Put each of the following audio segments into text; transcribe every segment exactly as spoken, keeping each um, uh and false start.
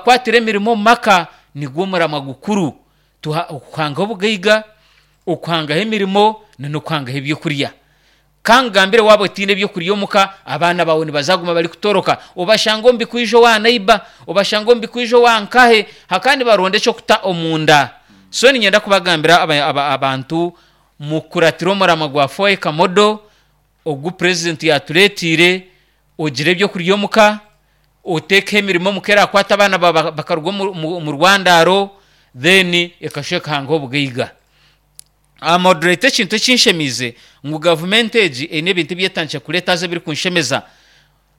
Okubakwatira emirimo omu maka nigwo muramwa gukuru. Tuha okuhangaho obugaiga, okuhangaho emirimo n'okuhangaho ebyokurya. Kangambire, waaba otiine ebyokurya omuka, abaana baawe nibazaguma barikutoroka, obashanga omu bikwijo owa neighbour, obashanga omu bikwijo owa nkahe hakandi baronda ekyokuta omunda. So niinyenda kubagambira aba- aba- abantu mukuratire omuramwa gwa four acre model ogu purezidenti yaatureetiire. Ogire ebyokurya omuka, oteekeho emirimo omuka erakwata abaana baawe bakaruga omu- omu omu rwandaro, then ekashuba ekahangaho obugaiga. Moderator, ekintu ekinshemiize ngu gavumenti egi eine ebintu ebi etandikire kureeta haza ebirikunshemeza.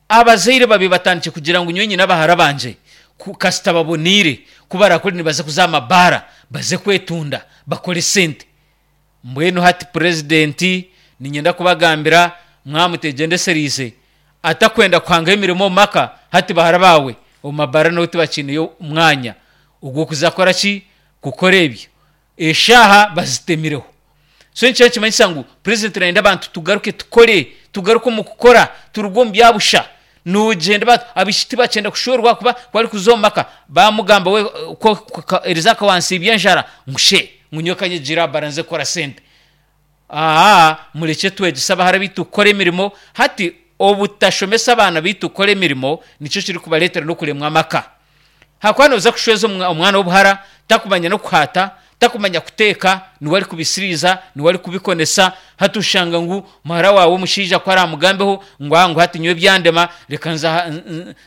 Abazaire babi batandikire kugira ngu nyowe nyine abahara bangye ku kasita baboniire, ku barakore nibaza kuza aha mabaara baze kwetunda bakore sente. Mbwenu hati purezidenti, niinyenda kubagambira mwamutegyendesereize atakwenda kuhangaho emirimo omu maka, hati bahara baawe omu mabaara naho tibakiineyo mwanya ogw'okuza kukora ki? Kukora ebyo. Eshaaha bazitemireho. So nikyo nikimanyisa ngu purezidenti nayenda abantu tugaruke tukore, tugaruke omu kukora, turuge omu bya busha. Noogyenda ba abaishiki tibakyenda kushwerwa ahakuba ku arikuza omu maka bamugamba we eriizooba akaba wansiibya enjara ngu she ngu nyowe kanyegire aha bara nze kukora sente. Aa murekye twegyese abahara baitu kukora emirimo. Hati obutashomesa abaana baitu kukora emirimo nikyo kirikubareetera n'okuremwa amaka. Ahakuba nooza kushweza omwana w'obuhara takumanya n'okuhaata, takumanya kuteeka, niwe arikubisiriiza, niwe arikubikonesa, hati oshanga ngu muhara waawe omushaija ku araamugambeho ngu aa ngu hati nyowe byandema reka nze aha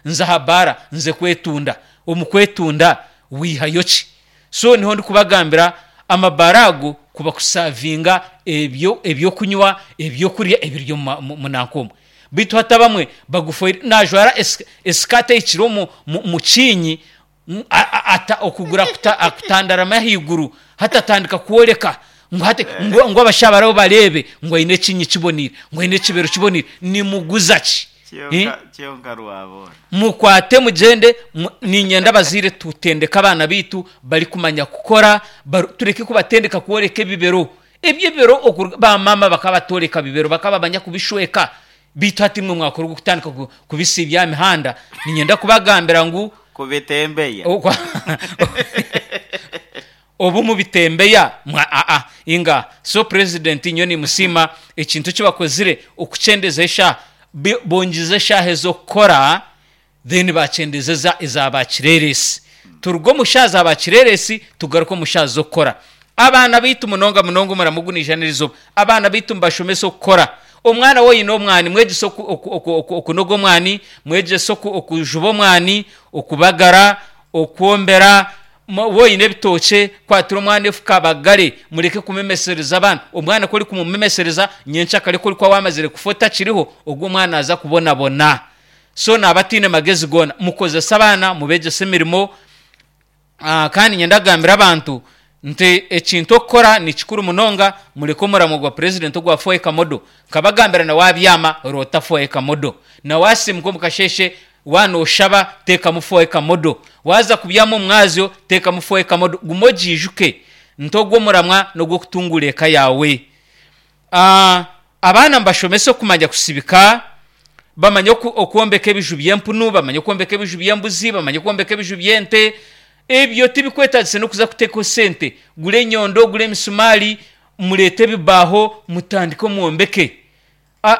nze aha baara nze kwetunda. Omu kwetunda wiihayo ki? So niho ndikubagambira amabaara ago kuba kusavinga ebyo ebyokunywa, ebyokurya ebiri omu mu nanka omwe. Beitu hati abamwe bagufoire najwara esikaati ehikire omu mu kiinyi, ata okuguru akutandaramu ahaiguru, hati atandika kworeka ngu hati ngu abashaija baraba bareebe ngu aine ekiinyi kiboneire, ngu aine ekibero kiboneire. Nimuguza ki? Kyonka rwaboona. Mukwate mugyende. Niinyenda abazaire tutendeke abaana baitu barikumanya kukora, tureke kubatendeka kworeka ebibero. Ebyo ebibero baamaama bakaba batooreka bibero, bakaba bamanya kubishweka. Beitu hati imwe mwakora ogw'okutandika kubisiibya aha mihanda, niinyenda kubagambira ngu. Kubitembeya. Obu mubitembeya mwa aa inga. So president nyowe nimusiima ekintu eki bakozire okukyendeza eshaaha, bongize eshaaha ez'okukora then bakyendeza eza eza ba kireeresi. Turuge omu shaaha za ba kireeresi tugaruke omu shaaha z'okukora. Abaana baitu munonga munonga omurimo ogu naija n'erizooba, abaana baitu mubashomese okukora. Omwana waaba oine omwani mwegyese okunoga omwani, mwegyese okujuba omwani, okubagara, okwombera. Waaba oine ebitookye kwatira omwana efuka abagare, mureke kumemesereza abaana. Omwana ku orikumumemesereza nyenkyakare ku orikuba waamazire kufa otakiriho, ogwo omwana naaza kubonabona. So naaba ataine magezi goona. Mukozese abaana, mubeegyese emirimo. Kandi niinyenda kugambira abantu nti ekintu okukora ni kikuru munonga, mureke omuramwa gwa purezidenti ogwa four acre model. Nkabagambira na waabyama roota four acre model. Na waasiimuka omu kasheeshe waaba nooshaba teekamu four acre model. Waaza kubyama omu mwazyo teekamu four acre model. Guma ogiijuke nti ogwo omuramwa n'ogw'okutunguura eka yaawe. Abaana mubashomese okumanya kusibika, bamanye okwombeka ebiju by'empunu, bamanye okwombeka ebiju by'embuzi, bamanye okwombeka ebiju by'ente. Ebyo tibikwetagisa n'okuza kuteekaho sente. Gura enyondo, gura emisumaari, mureete ebibaaho mutandike mwombeke.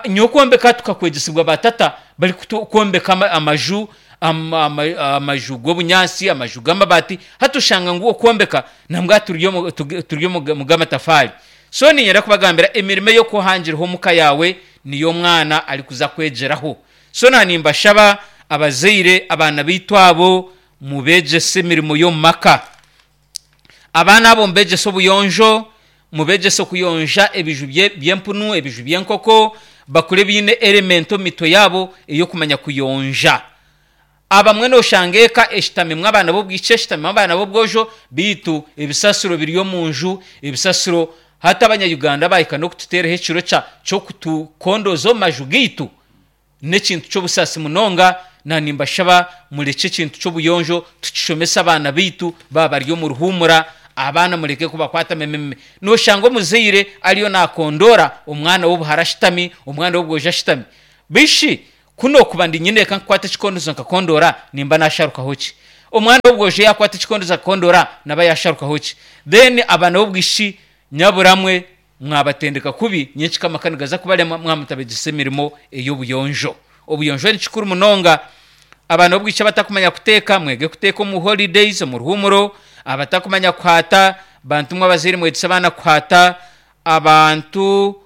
Nyowe okwombeka tukakwegyesibwa baatata barikwombeka amaju, amaju g'obunyaatsi, amaju g'amabaati. Hati oshanga ngu okwombeka nambwa turi omu g'amatafaari. So niinyenda kubagambira emirimo ei orikuba ohangireho omuka yaawe niyo omwana arikuza kwegyeraho. So naanimbashaba abazaire abaana baitu abo mubeegyese emirimo y'omu maka. Abaana abo mubeegyese obuyonjo, mubeegyese okuyonja ebiju by'empunu, ebiju by'enkoko, bakure baine element omu mitwe yaabo ey'okumanya kuyonja. Abamwe nooshanga eka eshutamimu abaana b'obwishiki, eshutamimu abaana b'obwojo, beitu ebisasiro biri omu nju, ebisasiro hati abanya-Uganda baahika n'okututeeraho ekiro ky'okutukondooza omu maju gaitu. N'ekintu ky'obusaasi munonga, na nimbashaba murekye ekintu ky'obuyonjo tukishomese abaana baitu baaba bari omu ruhuumura, abaana mureke kubakwata memememe. Noshanga omuzaire ariyo nakondoora omwana w'obuhara ashutami, omwana w'obwojo ashutami. Beitu shi ku nokuba ndi nyineeka nkukwata ekikondozo nkakondoora nimba nasharukaho ki? Omwana w'obwojo yakwata ekikondoza akakondora naba yasharukaho ki. Then abaana b'obwishiki nyaburamwe mwabatendeka kubi, nyenkika amaka nigaza kubarema mwamutabegyesa emirimo ey'obuyonjo. Obuyonjo ni kikuru munonga. Abaana b'obwishiki abatakumanya kuteeka, mwege kuteeka omu holidays, omu ruhumuro. Abatakumanya kuhaata, bantu mwe abazaire mwegyese abaana kuhaata. Abantu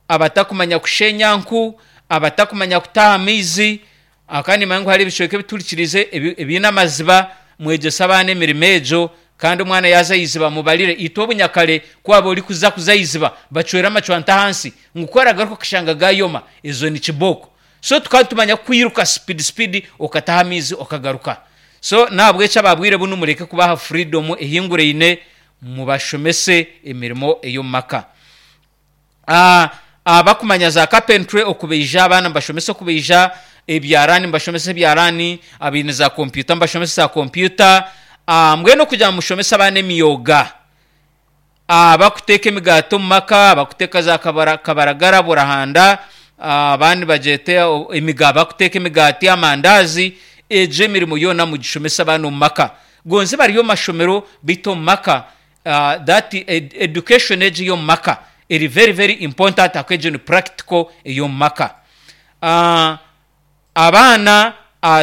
abatakumanya kushenya nku, abatakumanya kutaaha amaizi, kandi nimanya ngu hariho ebicweka ebiturikirize ebiine amaziba, mwegyese abaana emirimo egyo. Kandi omwana yaaza aha iziba mubarire. Itwe obunyakare ku waaba orikuza kuza aha iziba, bacwera amacwanta ahansi ngu ku oragaruka okashanga gaayoma, ezo ni kibooko. So tukaba nitumanya kwiruka speed speed okataha amaizi okagaruka. So n'ahabw'ekyo ababwire bunu mureke kubaha freedom ehinguraine, mubashomese emirimo ey'omu maka. Abakumanya za carpentry okubaija abaana mubashomese okubaija, ebyaraani mubashomese ebyaraani, abaine za kompyuta mubashomese za kompyuta. Mbwenu okugira ngu mushomese abaana emyoga, abakuteeka emigaati omu maka, abakuteeka za kabaragara, burahanda, abandi bagyete abakuteeka emigaati, amandaazi, egyo emirimo yoona mugishomese abaana omu maka. Gonze bari omu mashomero beitu omu maka that education egyo ey'omu maka eri very very important ahakuba egyo ni practical ey'omu maka. Abaana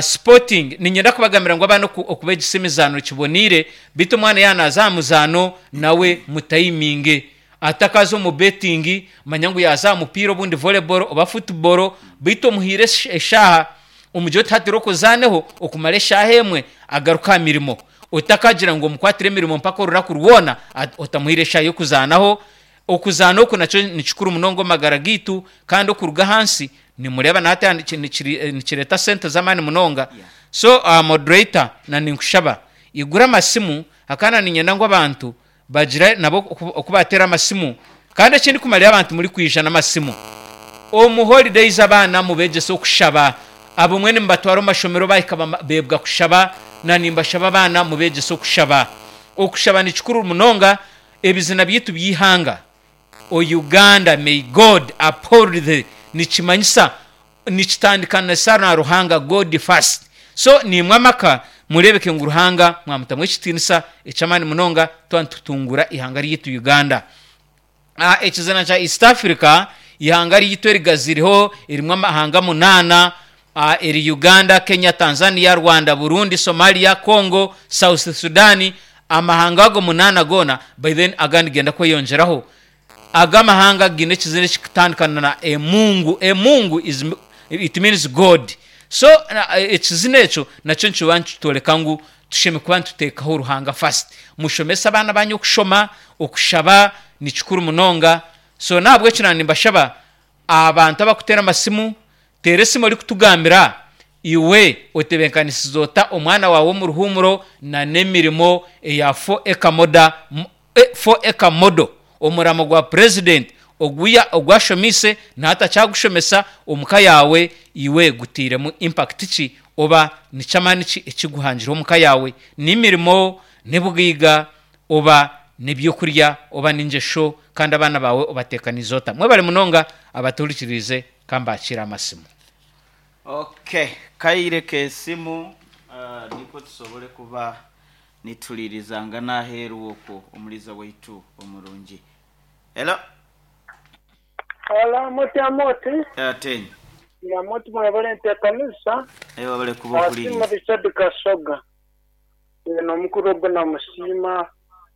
sporting, niinyenda kubagambira ngu abaana okubegyesa emizaano kiboneire, beitu omwana yaaba naaza aha muzaano nawe mutayiminge. Atakaza omu betting, manya ngu yaaza aha mupiira obundi volleyball oba football, beitu omuhaire eshaaha, omugire oti hati roka ozaaneho okumara eshaaha emwe agaruke aha mirimo. Otakagira ngu omukwatire emirimo mpaka orunaku rwona otamuhaire eshaaha y'okuzaanaho. Okuzaana oku nakyo ni kikuru munonga omu magara gaitu, kandi okuruga ahansi nimureeba na hati nikireeta sente z'amaani munonga. So moderator na ninkushaba igura amasimu ahakuba na niinyenda ngu abantu bagire nabo oku baateera amasimu. Kandi ekindikumara abantu murikwija n'amasimu, omu holidays abaana mubegyese okushaba. Abamwe nimubatwara omu mashomero bahika beebwa kushaba, na nimbashaba abaana mubegyese okushaba. Okushaba ni kikuru munonga, ebizina byaitu by'eihanga, O Uganda may God uphold thee nikimanyisa nikitandika na Ruhanga, God first. So naimwe amaka mureebeke ngu Ruhanga mwamutamu ekitiinisa eky'amaani munonga twaba nitutunguura eihanga ryaitu Uganda. Ekizina kya East Africa, eihanga ryaitu erigaziriho erimu amahanga munaana, eri Uganda, Kenya, Tanzania, Rwanda, Burundi, Somalia, Congo, South Sudan, amahanga ago munaana goona by then agandi nigenda kweyongyeraho. Aga amahanga gaine ekizina ekirikutandikana na Emungu. Emungu is it means God. So ekizina ekyo nakyo nikiba nikitworeka ngu tushemereire kuba nituteekaho Ruhanga first. Mushomese abaana banyu okushoma, okushaba ni kikuru munonga. So n'ahabw'ekyo naaba nimbashaba abantu abarikuteera amasimu, teera esimu orikutugambira iwe otebeekanisize ota omwana waawe omu ruhuumuro n'emirimo eya four acre moda, four acre model, omuramo gwa purezidenti ogu ogu ashomeise na hati akyagushomesa omu ka yaawe, iwe gutairemu impact ki oba ni ky'amaani ki ekiguhangire omu ka yaawe? N'emirimo, n'obugaiga oba n'ebyokurya oba n'engyesho kandi abaana baawe obateekaniize ota? Mwebare munonga abatuhurikiriize ka mbakiire amasimu. Okay, kaire k'esimu uh, nikwo tusobole kuba nituliirizangana aheeru okwo omuliiza waitu omurungi. Hello. Hello, Moti Amoti. Atenyo. Amoti mwebale enteekanisa. Aye wabale kuba Asiima okuliiriza. Richard Kasoga. N'omukuru ogwo namusiima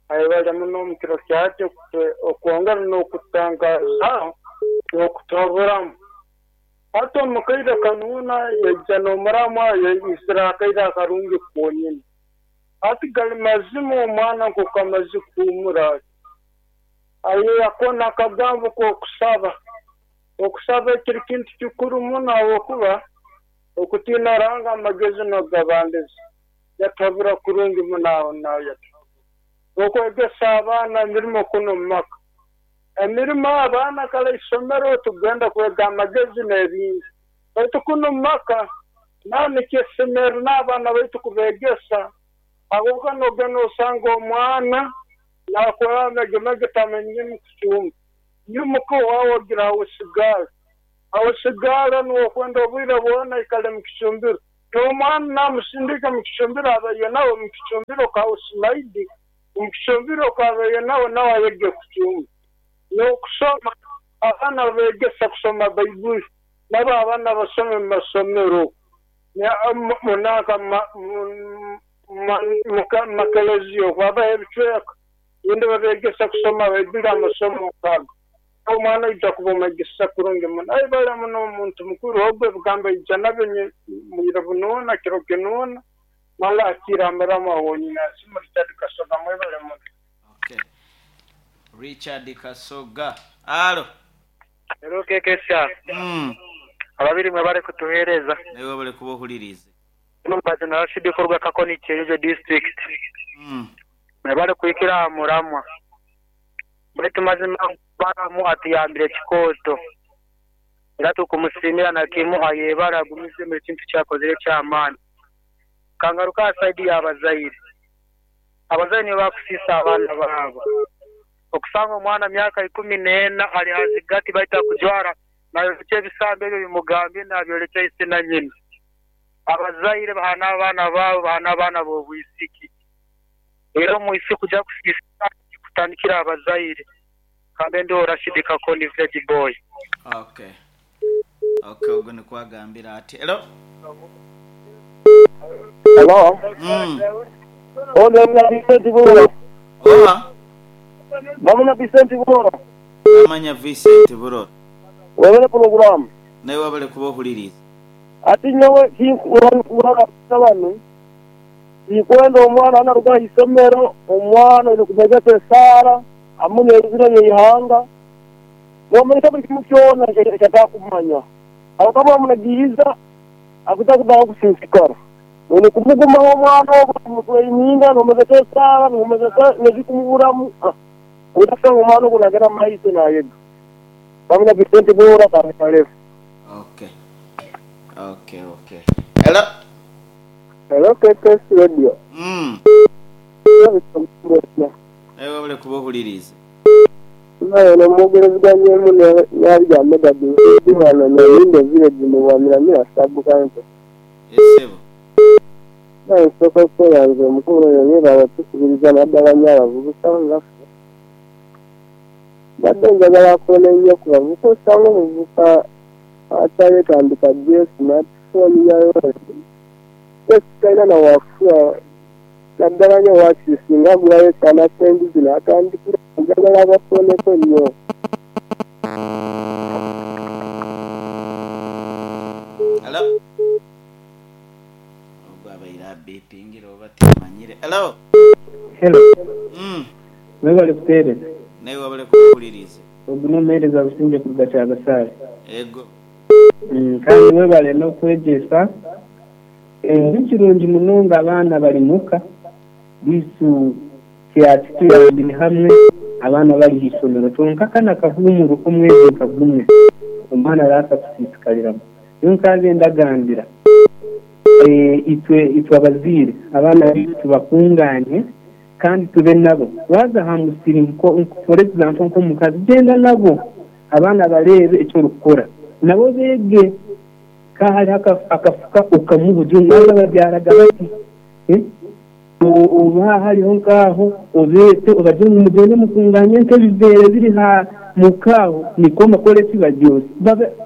ayebale muno omu kiro kya hati okwongera n'okutangaza n'okutuhaburamu. Hati omu kaire kanu yaija n'omuramwa yaisire akaire akarungi konyini. Hati gali mazima omwana nk'oku amaze kuhuumura ati. Aye ako n'akagambo k'okusaba. Okusaba kiri kintu kikuru muno ahabw'okuba okutiina Ruhanga amagezi n'ogabandiza. Yatuhabura kurungi muno aho naho yatuhabura. Okwegesa abaana emirimo kunu omu maka. Emirimo abaana kare isomero tugenda kwega amagezi n'ebindi. Baitu kunu omu maka naho nikisemerera n'abaana baitu kubeegesa ahabw'okuba noogenda osanga omwana naakora amegemege tamanyire kucumba. Nyimuka owaawe ogira hausigaara. Hausigaara niwe okwenda obwire bwona aikale mu kicumbiro. N'omwana namusindika mu kicumbiro abaye nawe mu kicumbiro ka usimaidi mu kicumbiro kabaye nawe nawe ayege kucumba. N'okusoma abaana begesa kusoma Baibuli nabo abaana basome mu masomero munaka makeleziyo babaha ebicweka yindi babegesa kusoma Baibuli amasomo kago. Omwana aija kuba omwegesa kurungi muno ayi bali muno omuntu mukuru ogwe bugamba ija nabyo mwira bunoona kiro kinoona mala akira amaramu awonyina simu Richard Kasoga mwebale muno. Okay. Richard Kasoga. Alo. Hello K K S R. Mm. Ababiri mwe bare kutuhereza. Nawe bare kubohulirize. Numbaze na Rashid Korwa Kakoni Kyejo district. Mm. Mwe bare kuikira muramwa. Baitu mazima baramu atiyambire kikoto. Era tukumusimira na kimuha yebara gumize mu kintu cyakozere cy'amani. Kangaruka side y'abazaire. Abazaire nibo bakusisa abaana babo. Okusanga omwana myaka ikumi n'ena ali hazigati baita kujwara nayo ebisambe ebyo bimugambye nabyolekya ise na nyina. Abazaire bahana abaana babo bahana abaana b'obwisiki. Era omwisi kujya kusisa kutandikira abazaire. Kambe ndi Rashid Kakoni village boy. Okay. Okay, ubwo nikwagambira ati. Hello. Hello. Mm. Ono mna Vincent Buro. Oha. Bamuna Vincent Buro. Amanya Vincent Buro. Webele program. Nawe wabale kubohuliriza. Ati nyowe kinkuranga abantu. Ikwenda omwana anaruga isomero omwana uri kumegesa sara amune izina yihanga. Nomanyisa buli kimu kyona kyatakumanya. Abakaba bamunagiiza akuta kubaho kusinsikara. None kumugumaho omwana ogwo kumutweininga nomegesa sara nomegesa nezikumuburamu. Utasanga omwana ogwo nagera mu maiso nayega. Bamuna Vincent Bura kamalefu. Okay. Okay, okay. Hello. Hello K K S Radio. Mm. Ewe wabale kubohuliriza. Nayo nomugereziganyemu n'abya Megadi wano Nyindo village mu Bwamiramira sub county. Esebo. Nayo soko yanze omukulu oyo yeebala tukubiriza naddala nnyo abavubuka ngaffe. Mbadde njagala kukola ennyo ku bavubuka osanga omuvubuka akyayetandika Jesu n'atufoonyayo Jesu talina na wakufuwa naddala nnyo waakiri singa agulayo ekyana ky'embuzi n'atandikira njagala abafooneko nnyo. Hello. Ogwo abaire abipingira oba timanyire. Hello. Hello. Mm. Mwebale kuteereza. Nawe wabale kuwuliriza. Ogu n'omuheereza Busingye kuruga Kyagasaale. Ego. Mm, kandi mwebale n'okwegyesa. Ni kirungi munonga abaana bari muka bisu kyatutuyambire hamwe abaana bari h'isomero kyonka kana kahuumuro k'omwezi nka gumwe omwana araasa kusisikariramu. Niyo nkaze ndagambira itwe itwe abazaire abaana baitu tubakunganye kandi tube nabo waza aha musiri for example nk'omukazi genda nabo abaana bareebe eki orikukora nabo beege ka hariho akafuka okamubugira omwana babyaraga bati oba hariho nk'aho obeete obagire ngu mugende mukunganye nk'ebiveera biri ha mukaaho niko mukore eki baryoze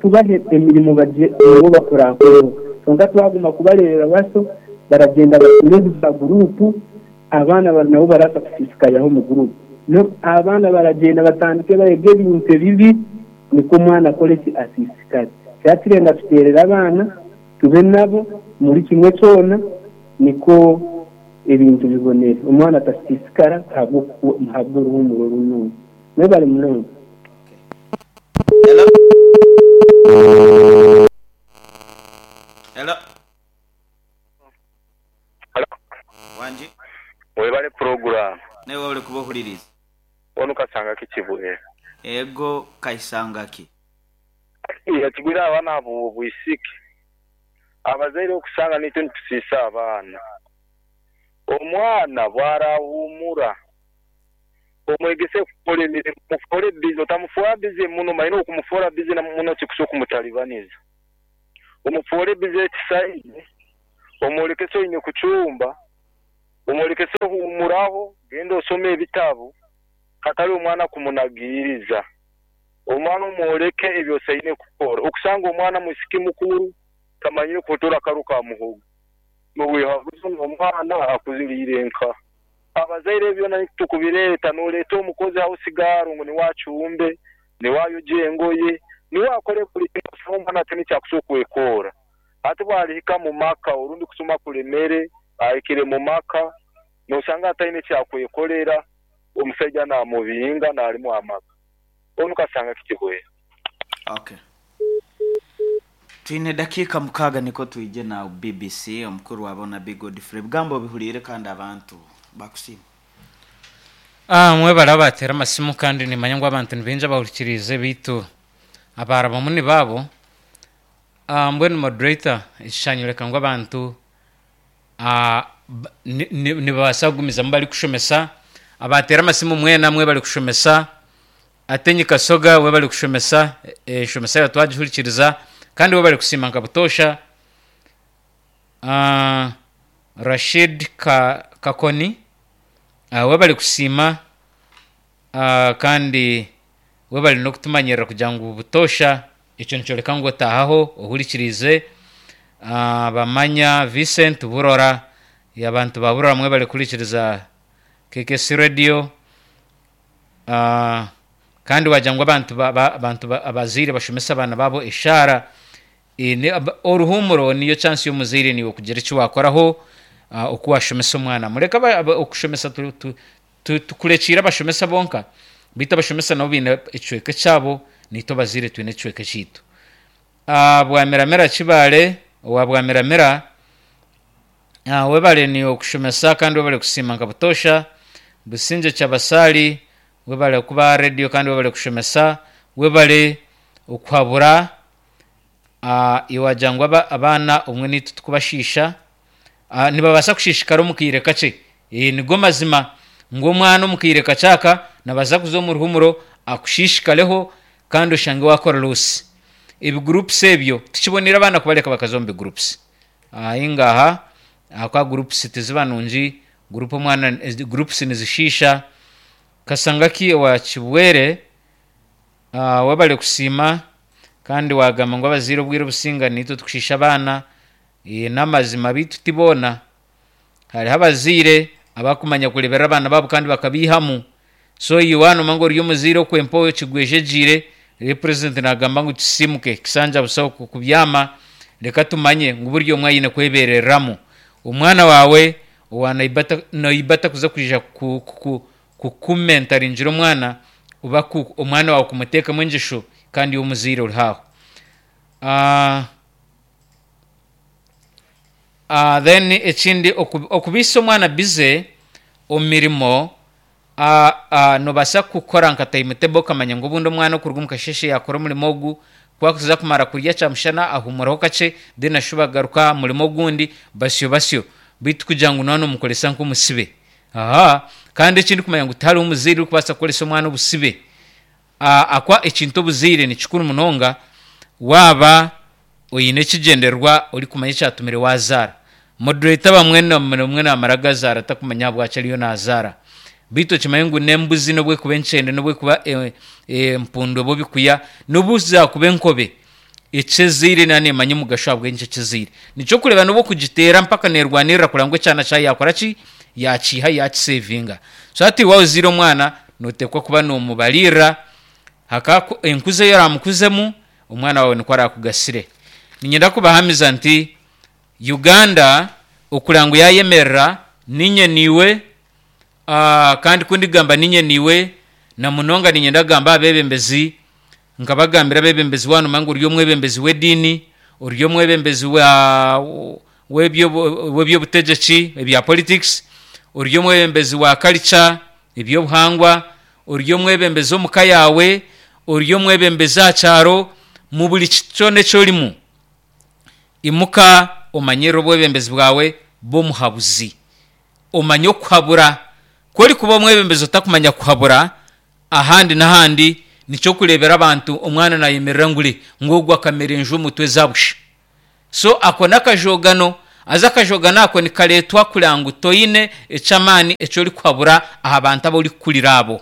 tubahe emirimo nabo bakurakureho kyonka twaguma kubareebera baso baragenda basome za gurupu abaana nabo barasa kusisikariraho mu gurupu abaana baragenda batandike barege ebintu ebibi niko omwana akore eki asiisikare. Kyatirenda tuteerera abaana tube nabo muri kimwe kyona niko ebintu bibonere omwana atasiisikara ahabwa oruhumuro runungi. Mwebale munonga. Hello. Hello. Hello. Wanji. Webale program. Nawe wabale kubohuliriza. Ono kasanga kikibuye. Ego kaisanga ki. Yakigwira abaana abo bwisiki. Abazaire okusanga nitwe nitusiisa abaana. Omwana bwarahumura. Omwegese kukora emirimo, mufore bizi, otamufuura bizi muno, maine okumufuura bizi na muno kikusa okumutalibaniza. Omufuure bizi ekisaidi, Omwolekese oine kucumba, omwolekese ohuumuraho, genda osome ebitabo, hatari omwana kumunagiriza. Omwana omwoleke ebyosaine kukora. Okusanga omwana mwisiki mukuru tamanyire kuhotora akaru ka muhogo. Nobwehaguza omwana akuziriire nka. Abazaire ebyo byona tukubireeta, noreeta omukozi aho sigaro ngu niwe acumbe, niwe ayoje engoye, niwe akore buli kimwe, osanga omwana ati nikyakusobola kwekora. Ati bwalihika mu maka orundi kusoma kulemere, ahikire mu maka, nosanga ataine kyakwekorera, omusaija namubinga nalimu amaka. Onu kasanga kikibwera. Okay. Twine dakiika mukaaga niko twije na B B C omukuru wabo na Big Godfrey. Ebigambo bihuriire kandi abantu bakusiima. Ah, mwebale abatera amasimu kandi nimanya ngu abantu nibingi abahurikiriize bitu abarabamu ni baabo. Ah, mbwenu moderator ekishanyureka ngu abantu ah, nibabaasa kugumizamu barikushomesa. Abatera amasimu mwena mwe bari kushomesa. Atenyi Kasoga we bari kushomesa, eshomesa e, twagihurikiriza kandi we bari kusiima nka butosha. Ah, Rashid ka, Kakoni uh, we bari kusiima uh, kandi we bari n'okutumanyirira kugira ngu butosha ekyo nikyoreka ngu otahaho ohurikirize. Uh, bamanya Vincent Burora, abantu ba Burora mwe bari kurikiriza K K C Radio. Uh, kandi wagira ngu abantu abantu abazaire bashomesa abaana babo eshara. E, oruhumuro niyo chance y'omuzaire niwe kugira eki wakoraho uh, oku washomesa omwana. Mureka okushomesa tukurekiire abashomesa bonka, bitu abashomesa nabo biine ekicweka kyabo, niitwe abazaire twine ekicweka kyaitu. Uh, Bwamiramira Kibaale owa Bwamiramira, uh, webale ni okushomesa kandi webale kusiima nka butosha. Businje Kyabasali webale kuba radio kandi webale kushomesa, webale okuhabura. Uh, iwagira ngu abaana omwe niitwe tukubashiisha, uh, nibabaasa kushishikara omu kaire kakye. E, nigo mazima ngu omwana omu kaire kakyaka nabaasa kuza omu ruhumuro akushishikareho kandi oshange wakora losi. Ebigroups ebyo tukibonera abaana kubareka bakaza omu bigroups. Ahingaha akwa groups tiziba nungi, group omwana groups nizishiisha. Kasangaki owa Kibwere, uh, webale kusiima kandi wagamba ngu abazaire obwire obusinga niitwe tukushiisha abaana. E, n'amazima bitu tibona. Hariho abazaire abakumanya kureberera abaana babo kandi bakabihamu. So iwe mangu ori omuzaire okwempa kigwejegiire, president nagamba ngu tusimuke kisanja busaho kubyama, reka tumanye ngu buri omwe aine kwebereramu. Omwana wawe owa naibata naibata kuza kwija ku, ku, kukumentaringira omwana oba omwana wawe kumuteekamu engisho kandi omuzaire ori haho. Uh, uh, then ekindi okubisa omwana bize omu mirimo, uh, uh, nobaasa kukora nka timetable okamanya ngu obundi omwana okuruga omu kasheshe yakora omurimo ogu, kwakuza kumara kurya kyamushana ahumuraho kakye, then ashuba agaruka murimo ogundi basyo basyo, bitu kugira ngu nwana omukoresa nk'omusibe. Aha, kandi ekindi kumanya ngu tihariho omuzaire orikubaasa kukoresa omwana obusibe. Uh, akwa ekintu obuzaire ni kikuru munonga waaba oine ekigyendererwa orikumanya ekyatumire wazaara. Moderator bamwe namwe namara gazaara takumanya bwaki ariyo nazaara. Bitu okimanye ngu n'embuzi n'obwekuba enkyende n'obwekuba empundu oba obikuya n'obu zakuba enkobe, ekyezaire nanemanya omugasho ahabw'enki ekyezaire. Nikyo kureba n'obu okugiteera mpaka nerwanirira kureba ngu ekyana kyayo yakora ki, yakiiha yakisevinga. So hati waozire omwana notekwa kuba nomubalirira haka enkuza eyi oramukuzemu omwana wawe nikwo arakugasire. Niinyenda kubahamiza nti Uganda okureba ngu yayemerera ninye niiwe, uh, kandi kundigamba ninye niiwe na munonga niinyenda kugamba abebembezi, nkabagambira abebembezi wanu ngu ori omwebembezi w'ediini, ori omwebembezi wa w'ebyobutegyeki ebya politics, ori omwebembezi wa culture ebyobuhangwa, ori omwebembezi omuka yawe, ori omwebembezi aha kyaro, mu buri kyona ekyorimu imuka omanyirire obwebembezi bwawe bw'omuhabuzi. Omanye okuhabura. Ku orikuba omwebembezi otakumanya kuhabura ahandi n'ahandi, nikyo kurebera abantu omwana nayemerera ngure ngu ogwo akamera enju omutwe zabusha. So ako n'akajogano Aza akajoga nako nikareetwa kugira ngu toine eky'amaani eki orikuhabura aha bantu abu orikukurira abo.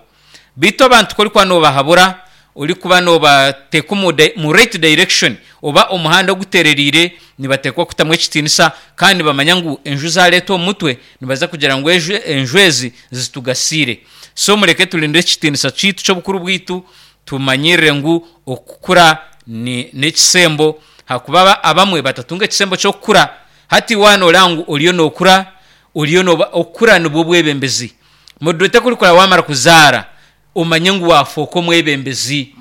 Beitu abantu ku orikuba noobahabura, orikuba noobateeka omu mu right direction oba omuhanda ogutereriire, nibateekwa kutamu ekitiinisa kandi nibamanya ngu enju zaareetwa omu mutwe nibaza kugira ngu enju enju ezi zitugasiire. So mureke turinde ekitiinisa kyaitu ky'obukuru bwaitu, tumanyirire ngu okukura ni n'ekisembo hakuba abamwe batatunga ekisembo ky'okukura. Hati waaba nooreeba ngu oriyo nookura, oriyo nooba okukura nibwo bwebembezi. Moderator ku orikura waamara kuzaara, omanye ngu waafooka omwebembezi.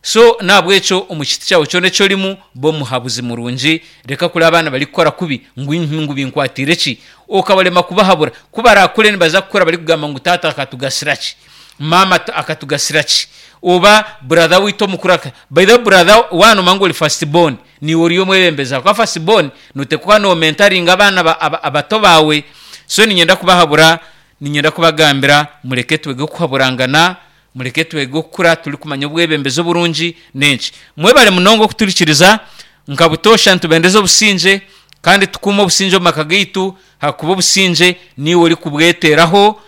So n'ahabw'ekyo omu kiti kyawe kyona eki orimu, ba omuhabuzi murungi, reka kureba abaana barikukora kubi ngu ngu binkwatiire ki, okabarema kubahabura. Ku baraakure nibaza kukura barikugamba ngu taata akatugasira ki, maama akatugasira ki, oba brother waitu omukuru aka. By the way brother waaba noomanya ngu ori first born, niiwe ori omwebembezi ahakuba first born nooteekwa kuba noomentaringa abaana abato baawe. So niinyenda kubahabura, niinyenda kubagambira mureke twege kuhaburangana, mureke twege okukura turikumanya obwebembezi oburungi n'enki. Mwebare munonga okuturikiriza, nka butoosha nitubendeza obusingye kandi tukuume obusingye omu maka gaitu ahakuba obusingye niiwe orikubweteraho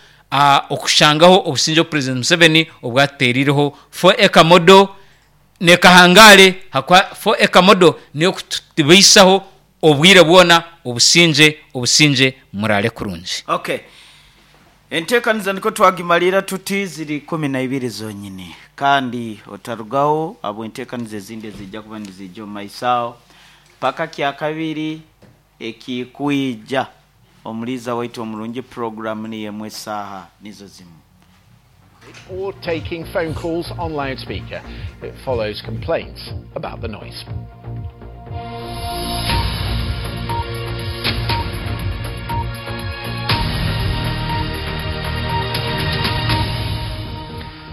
okushangaho obusingye obu President Museveni obu atutereireho four acre model nekahangare ahakuba four acre model niyo ekutubaisaho obwire bwona obusingye obusingye muraare kurungi. Okay. Enteekaniza nikwo twagimariira tuti ziri ikumi na ibiri zonyini kandi otarugaho ahabw'enteekaniza ezindi eziija kuba niziija omu maiso aho paka kyakabiri ekikwija omuliiza waitu omurungi puroguramu niyo emwe esaaha nizo zimu. Or taking phone calls on loudspeaker. It follows complaints about the noise.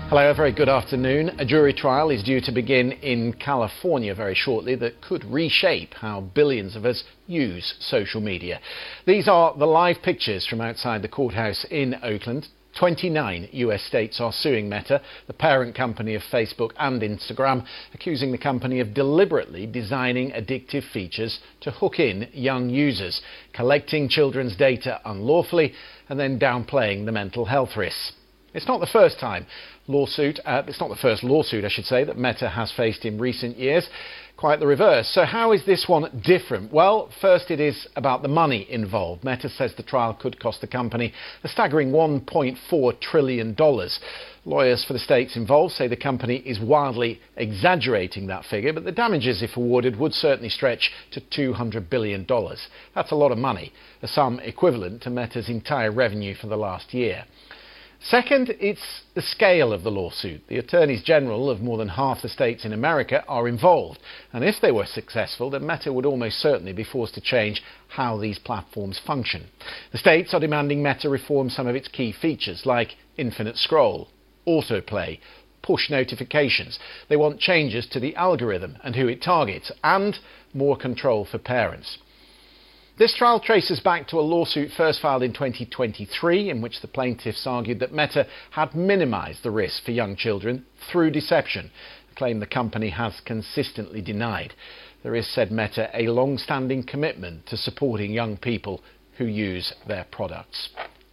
Hello, a very good afternoon. A jury trial is due to begin in California very shortly that could reshape how billions of us use social media. These are the live pictures from outside the courthouse in Oakland. twenty-nine U S states are suing Meta, the parent company of Facebook and Instagram, accusing the company of deliberately designing addictive features to hook in young users, collecting children's data unlawfully and then downplaying the mental health risks. It's not the first time lawsuit, uh, it's not the first lawsuit, I should say, that Meta has faced in recent years. Quite the reverse. So how is this one different? Well, first it is about the money involved. Meta says the trial could cost the company a staggering one point four trillion dollars. Lawyers for the states involved say the company is wildly exaggerating that figure, but the damages, if awarded, would certainly stretch to two hundred billion dollars. That's a lot of money, a sum equivalent to Meta's entire revenue for the last year. Second, it's the scale of the lawsuit. The attorneys general of more than half the states in America are involved. And if they were successful, then Meta would almost certainly be forced to change how these platforms function. The states are demanding Meta reform some of its key features, like infinite scroll, autoplay, push notifications. They want changes to the algorithm and who it targets, and more control for parents. This trial traces back to a lawsuit first filed in twenty twenty-three in which the plaintiffs argued that Meta had minimised the risk for young children through deception, a claim the company has consistently denied. There is, said Meta, a long-standing commitment to supporting young people who use their products.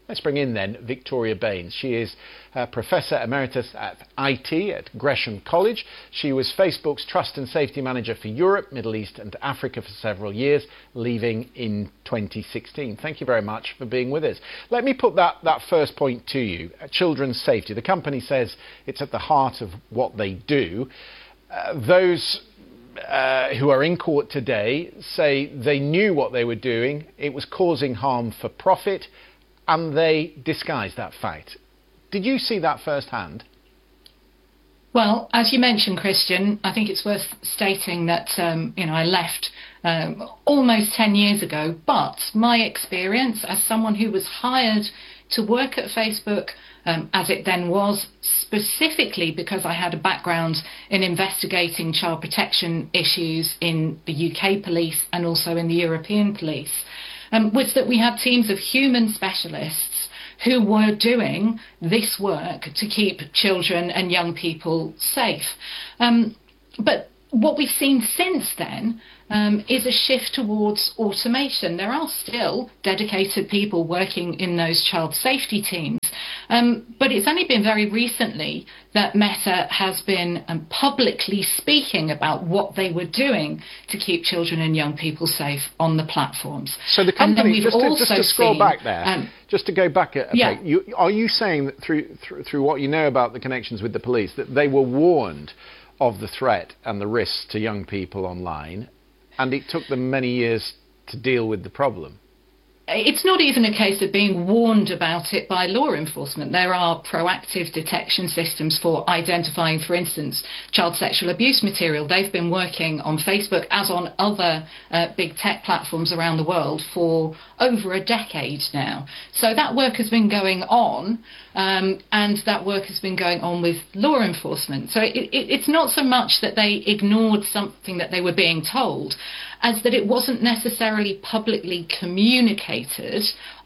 Let's bring in then Victoria Baines. She is a Professor Emeritus at I T at Gresham College. She was Facebook's Trust and Safety Manager for Europe, Middle East and Africa for several years, leaving in twenty sixteen. Thank you very much for being with us. Let me put that, that first point to you, uh, children's safety. The company says it's at the heart of what they do. Uh, those Uh, who are in court today say they knew what they were doing, it was causing harm for profit, and they disguised that fact. Did you see that firsthand? Well, as you mentioned, Christian, I think it's worth stating that um, you know, I left um, almost ten years ago, but my experience as someone who was hired to work at Facebook, um, as it then was, specifically because I had a background in investigating child protection issues in the U K police and also in the European police, um, was that we had teams of human specialists who were doing this work to keep children and young people safe. Um, but What we've seen since then um, is a shift towards automation. There are still dedicated people working in those child safety teams, um, but it's only been very recently that Meta has been um, publicly speaking about what they were doing to keep children and young people safe on the platforms. So the company, just to, just to scroll seen, back there, um, just to go back a, a yeah. bit, you, are you saying that through, through, through what you know about the connections with the police, that they were warned of the threat and the risks to young people online, and it took them many years to deal with the problem? It's not even a case of being warned about it by law enforcement. There are proactive detection systems for identifying, for instance, child sexual abuse material. They've been working on Facebook, as on other uh, big tech platforms around the world, for over a decade now. So that work has been going on, um, and that work has been going on with law enforcement. So it, it, it's not so much that they ignored something that they were being told, as that it wasn't necessarily publicly communicated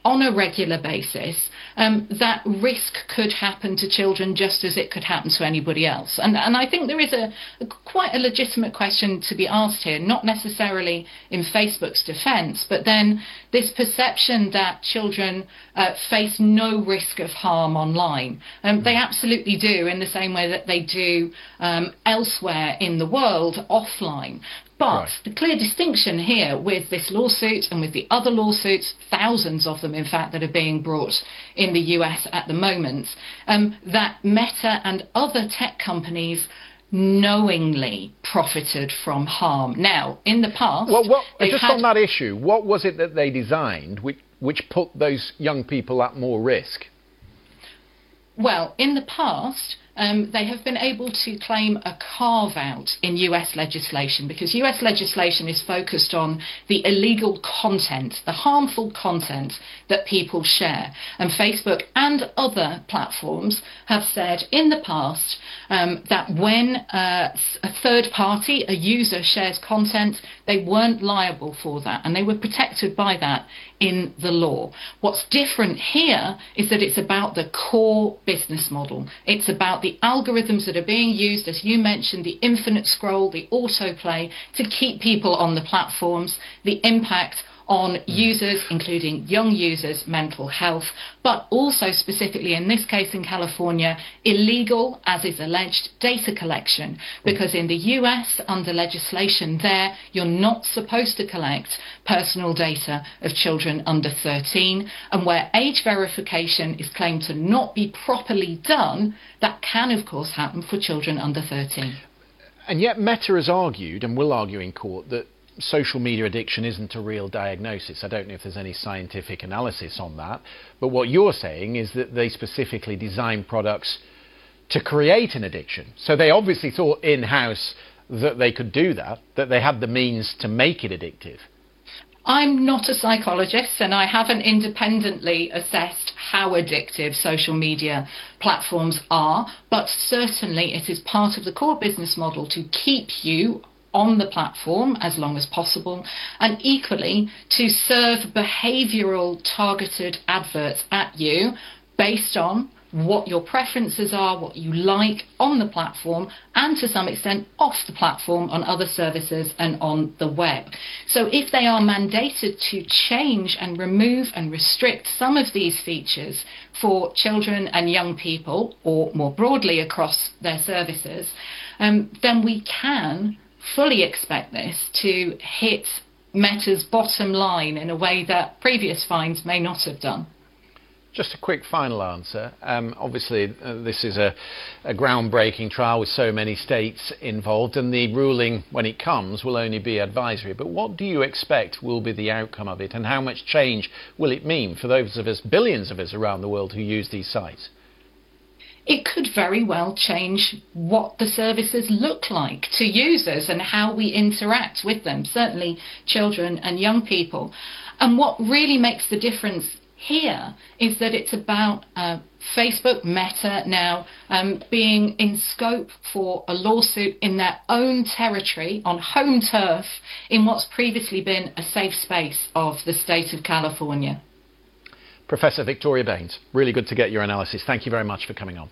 on a regular basis, um, that risk could happen to children just as it could happen to anybody else. And, and I think there is a, a quite a legitimate question to be asked here, not necessarily in Facebook's defense, but then this perception that children uh, face no risk of harm online. Um, they absolutely do, in the same way that they do um, elsewhere in the world, offline. But right. The clear distinction here with this lawsuit and with the other lawsuits, thousands of them, in fact, that are being brought in the U S at the moment, um, that Meta and other tech companies knowingly profited from harm. Now, in the past... Well, what, just had... on that issue, what was it that they designed which, which put those young people at more risk? Well, in the past, um, they have been able to claim a carve-out in U S legislation, because U S legislation is focused on the illegal content, the harmful content that people share. And Facebook and other platforms have said in the past um, that when uh, a third party, a user, shares content, they weren't liable for that, and they were protected by that in the law. What's different here is that it's about the core business model. It's about the algorithms that are being used, as you mentioned, the infinite scroll, the autoplay, to keep people on the platforms, the impact on users, including young users' mental health, but also specifically in this case in California, illegal, as is alleged, data collection. Because in the U S, under legislation there, you're not supposed to collect personal data of children under thirteen, and where age verification is claimed to not be properly done, that can, of course, happen for children under thirteen. And yet Meta has argued, and will argue in court, that social media addiction isn't a real diagnosis. I don't know if there's any scientific analysis on that, but what you're saying is that they specifically design products to create an addiction. So they obviously thought in-house that they could do that, that they had the means to make it addictive. I'm not a psychologist, and I haven't independently assessed how addictive social media platforms are, but certainly it is part of the core business model to keep you on the platform as long as possible, and equally to serve behavioural targeted adverts at you based on what your preferences are, what you like on the platform, and to some extent off the platform on other services and on the web. So if they are mandated to change and remove and restrict some of these features for children and young people, or more broadly across their services, um, then we can fully expect this to hit Meta's bottom line in a way that previous fines may not have done. Just a quick final answer. Um, obviously, uh, this is a, a groundbreaking trial with so many states involved, and the ruling, when it comes, will only be advisory. But what do you expect will be the outcome of it, and how much change will it mean for those of us, billions of us around the world who use these sites? It could very well change what the services look like to users and how we interact with them, certainly children and young people. And what really makes the difference here is that it's about uh, Facebook, Meta now, um, being in scope for a lawsuit in their own territory, on home turf, in what's previously been a safe space of the state of California. Professor Victoria Baines, really good to get your analysis. Thank you very much for coming on.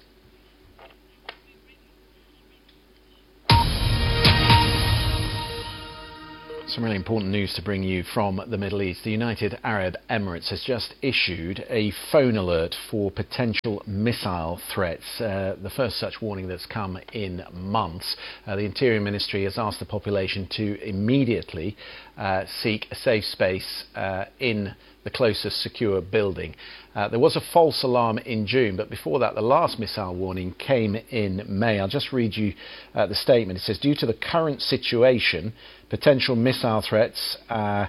Some really important news to bring you from the Middle East. The United Arab Emirates has just issued a phone alert for potential missile threats, uh, the first such warning that's come in months. Uh, the Interior Ministry has asked the population to immediately uh, seek a safe space uh, in the closest secure building. Uh, there was a false alarm in June, but before that, the last missile warning came in May. I'll just read you uh, the statement. It says, due to the current situation, potential missile threats uh,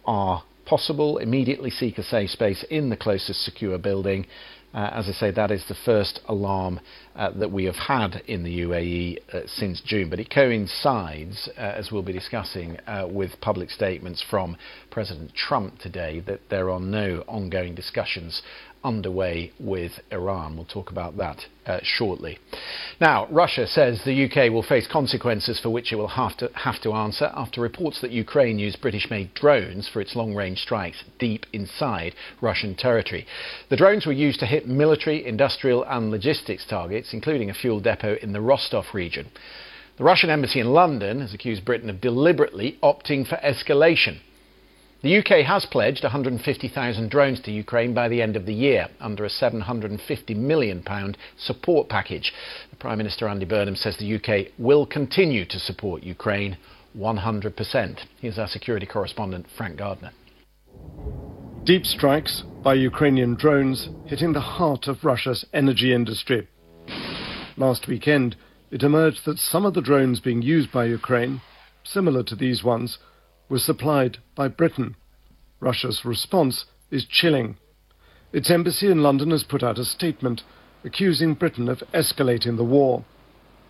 are possible. Immediately seek a safe space in the closest secure building. Uh, as I say, that is the first alarm uh, that we have had in the U A E uh, since June. But it coincides, uh, as we'll be discussing, uh, with public statements from President Trump today that there are no ongoing discussions underway with Iran. We'll talk about that uh, shortly. Now, Russia says the U K will face consequences for which it will have to, have to answer after reports that Ukraine used British-made drones for its long-range strikes deep inside Russian territory. The drones were used to hit military, industrial and logistics targets, including a fuel depot in the Rostov region. The Russian embassy in London has accused Britain of deliberately opting for escalation. The U K has pledged a hundred and fifty thousand drones to Ukraine by the end of the year under a seven hundred and fifty million pound support package. The Prime Minister Andy Burnham says the U K will continue to support Ukraine one hundred percent. Here's our security correspondent Frank Gardner. Deep strikes by Ukrainian drones hitting the heart of Russia's energy industry. Last weekend, it emerged that some of the drones being used by Ukraine, similar to these ones, were supplied by Britain. Russia's response is chilling. Its embassy in London has put out a statement accusing Britain of escalating the war.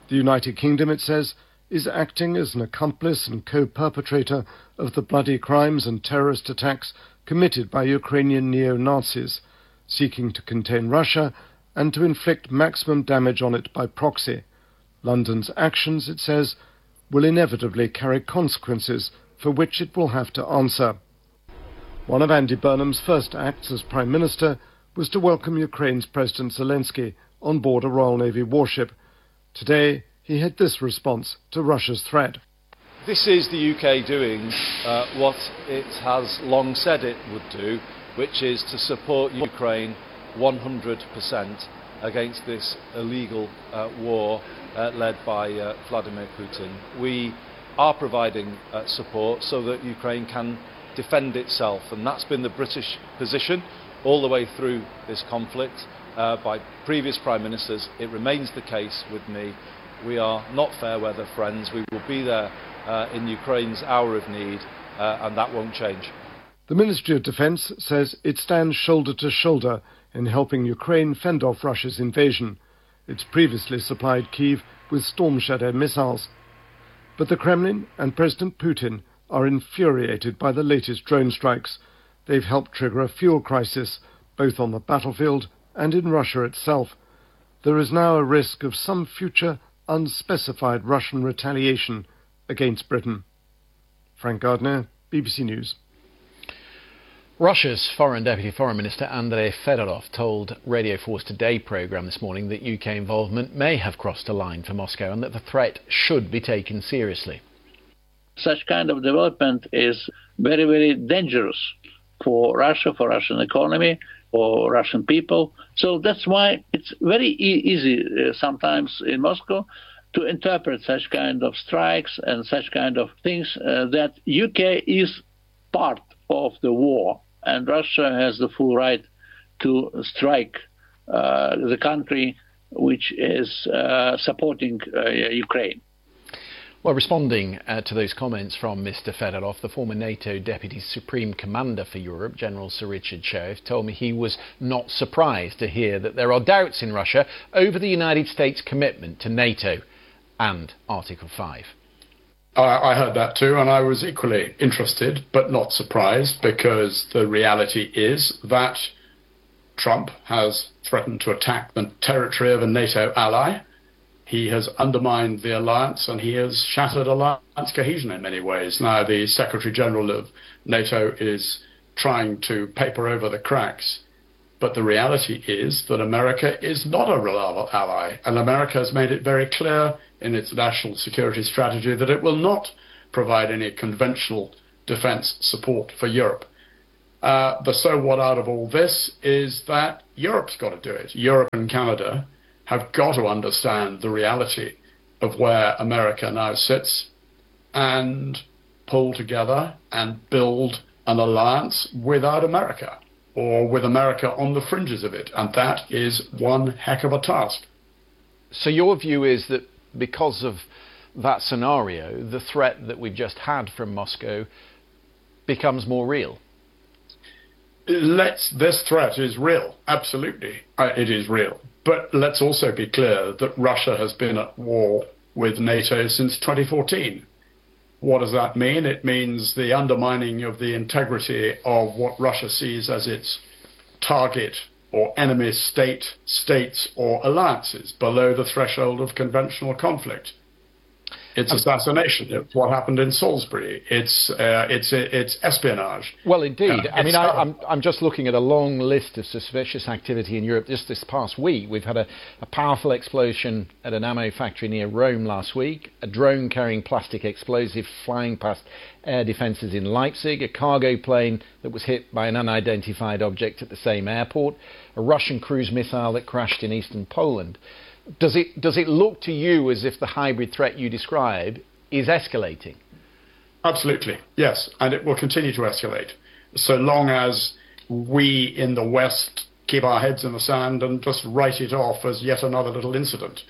The United Kingdom, it says, is acting as an accomplice and co-perpetrator of the bloody crimes and terrorist attacks committed by Ukrainian neo-Nazis, seeking to contain Russia and to inflict maximum damage on it by proxy. London's actions, it says, will inevitably carry consequences for which it will have to answer. One of Andy Burnham's first acts as Prime Minister was to welcome Ukraine's President Zelensky on board a Royal Navy warship. Today, he had this response to Russia's threat. This is the U K doing, uh, what it has long said it would do, which is to support Ukraine one hundred percent against this illegal, uh, war, uh, led by, uh, Vladimir Putin. We are providing, uh, support so that Ukraine can defend itself, and that's been the British position all the way through this conflict, uh, by previous Prime Ministers. It remains the case with me. We are not fair weather friends. We will be there, uh, in Ukraine's hour of need, uh, and that won't change. The Ministry of Defence says it stands shoulder to shoulder in helping Ukraine fend off Russia's invasion. It's previously supplied Kyiv with Storm Shadow missiles. But the Kremlin and President Putin are infuriated by the latest drone strikes. They've helped trigger a fuel crisis, both on the battlefield and in Russia itself. There is now a risk of some future unspecified Russian retaliation against Britain. Frank Gardner, B B C News. Russia's Foreign Deputy Foreign Minister Andrei Fedorov told Radio four's Today programme this morning that U K involvement may have crossed a line for Moscow and that the threat should be taken seriously. Such kind of development is very, very dangerous for Russia, for Russian economy, for Russian people. So that's why it's very e- easy, uh, sometimes in Moscow to interpret such kind of strikes and such kind of things, uh, that U K is part of the war, and Russia has the full right to strike, uh, the country which is, uh, supporting, uh, Ukraine. Well, responding, uh, to those comments from Mister Fedorov, the former NATO Deputy Supreme Commander for Europe, General Sir Richard Shirreff, told me he was not surprised to hear that there are doubts in Russia over the United States' commitment to NATO and Article five. I, I heard that too, and I was equally interested, but not surprised, because the reality is that Trump has threatened to attack the territory of a NATO ally. He has undermined the alliance, and he has shattered alliance cohesion in many ways. Now, the Secretary General of NATO is trying to paper over the cracks. But the reality is that America is not a reliable ally, and America has made it very clear in its national security strategy that it will not provide any conventional defense support for Europe. Uh, the so what out of all this is that Europe's got to do it. Europe and Canada have got to understand the reality of where America now sits and pull together and build an alliance without America, or with America on the fringes of it. And that is one heck of a task. So your view is that because of that scenario, the threat that we've just had from Moscow becomes more real? Let's, this threat is real, absolutely. Uh, it is real. But let's also be clear that Russia has been at war with NATO since twenty fourteen. What does that mean? It means the undermining of the integrity of what Russia sees as its target or enemy state, states or alliances below the threshold of conventional conflict. It's assassination. It's what happened in Salisbury. It's uh, it's it's espionage. Well, indeed. Uh, I mean, I, I'm I'm just looking at a long list of suspicious activity in Europe. Just this past week, we've had a, a powerful explosion at an ammo factory near Rome last week, a drone carrying plastic explosive flying past air defences in Leipzig, a cargo plane that was hit by an unidentified object at the same airport, a Russian cruise missile that crashed in eastern Poland. Does it, does it look to you as if the hybrid threat you describe is escalating? Absolutely, yes, and it will continue to escalate so long as we in the West keep our heads in the sand and just write it off as yet another little incident.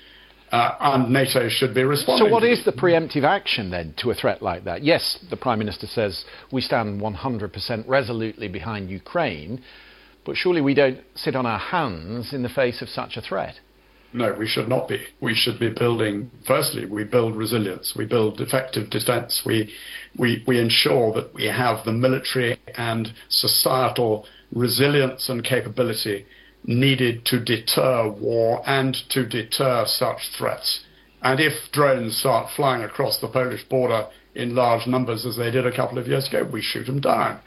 Uh, and NATO should be responding. So what is the preemptive action then to a threat like that? Yes, the Prime Minister says we stand one hundred percent resolutely behind Ukraine, but surely we don't sit on our hands in the face of such a threat. No, we should not be. We should be building, firstly, we build resilience, we build effective defense, we, we, we ensure that we have the military and societal resilience and capability needed to deter war and to deter such threats. And if drones start flying across the Polish border in large numbers, as they did a couple of years ago, we shoot them down.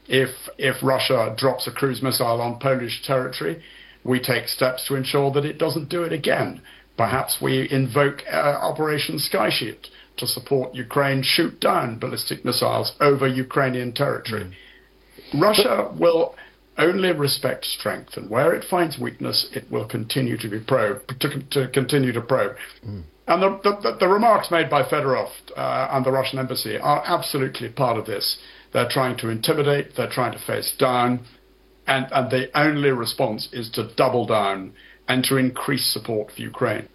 If, if Russia drops a cruise missile on Polish territory, we take steps to ensure that it doesn't do it again. Perhaps we invoke uh, Operation Sky Shield to support Ukraine shoot down ballistic missiles over Ukrainian territory. Mm. Russia will only respect strength, and where it finds weakness, it will continue to be probed, to, to continue to probe. Mm. And the, the, the remarks made by Fedorov uh, and the Russian embassy are absolutely part of this. They're trying to intimidate, they're trying to face down, and, and the only response is to double down and to increase support for Ukraine.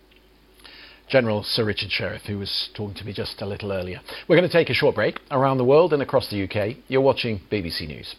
General Sir Richard Shirreff, who was talking to me just a little earlier. We're going to take a short break. Around the world and across the U K, you're watching B B C News.